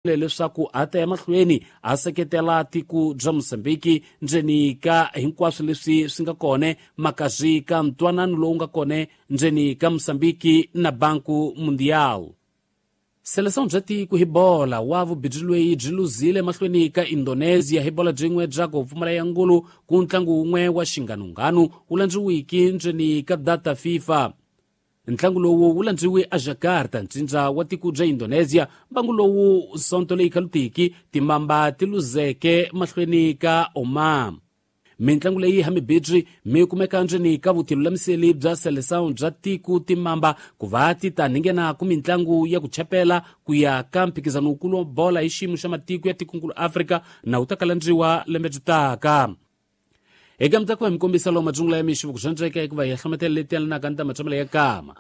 Leswaku a ta ya mahlweni a seketela tiko bya Mosambiki ndzeni ka hinkwaswo leswi swi nga kone makazi ka ntwanano lowu nga kone ndzeni ka Mosambiki na Banco Mundial. Seleção bya tiko hi bola wa vubindzu lweyi byi luzile mahlweni ka Indonesia hi bola byin'we bya ku pfumala ya ngulu ku ntlangu wun'we wa xinganunganu wu landziwiki ndzeni ka data FIFA. Ntlangu lowu wu landziwe aJakarta, ntsindza wa tiko bya Indonesia. Mbangu lowu sonto leyi khalutiki timamba ti luzeke mahlweni ka Oman. Mintlangu leyi hamibirhi mi kumeka ndzeni ka vutilulamiseli bya Seleção bya tiko timamba ku va ti ta ninghena ku mintlangu ya ku chapela ku ya ka mphikizano wukulu wa bola hi xiyimo xa matiko ya tikonkulu Afrika na wu ta kalandziwa lembe byi taka. Eka mutako wa mikombisa lowu madzungula ya mixo ku zvandzeka hikuva hi hlometela leti yalanaka ni ta matshamelo ya kama.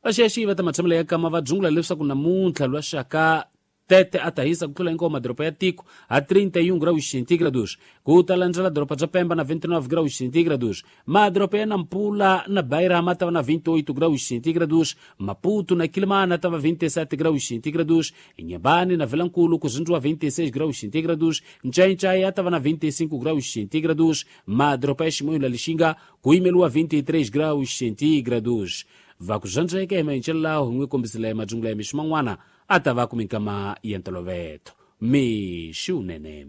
Vaxiyaxiyi va ta matshamelo ya kama va dzungula leswaku namuntlha lwa xaka Tete a ta hisa ku tlula hinkwawo madoroba ya tiko a 31 graus centígrados, ku ta landzela doroba bya Pemba na 29 graus centígrados. Madoroba ya Nampula na Beira ma ta va na 28 graus centígrados, Maputo na Quilimana ta va 27 graus centígrados, Inhambane na Vilankulu ku zindziwa 26 graus centígrados, Ncaincaia ya ta va na 25 graus centígrados, madoroba ya Chimoio na Lixinga ku yimeliwa 23 graus centígrados. Va ku zvandzeka hi mayincelo lawo hi n'wi kombisile madzungula ya mixo man'wana a ta va ku minkama ya ntoloveto. Mixi wunene.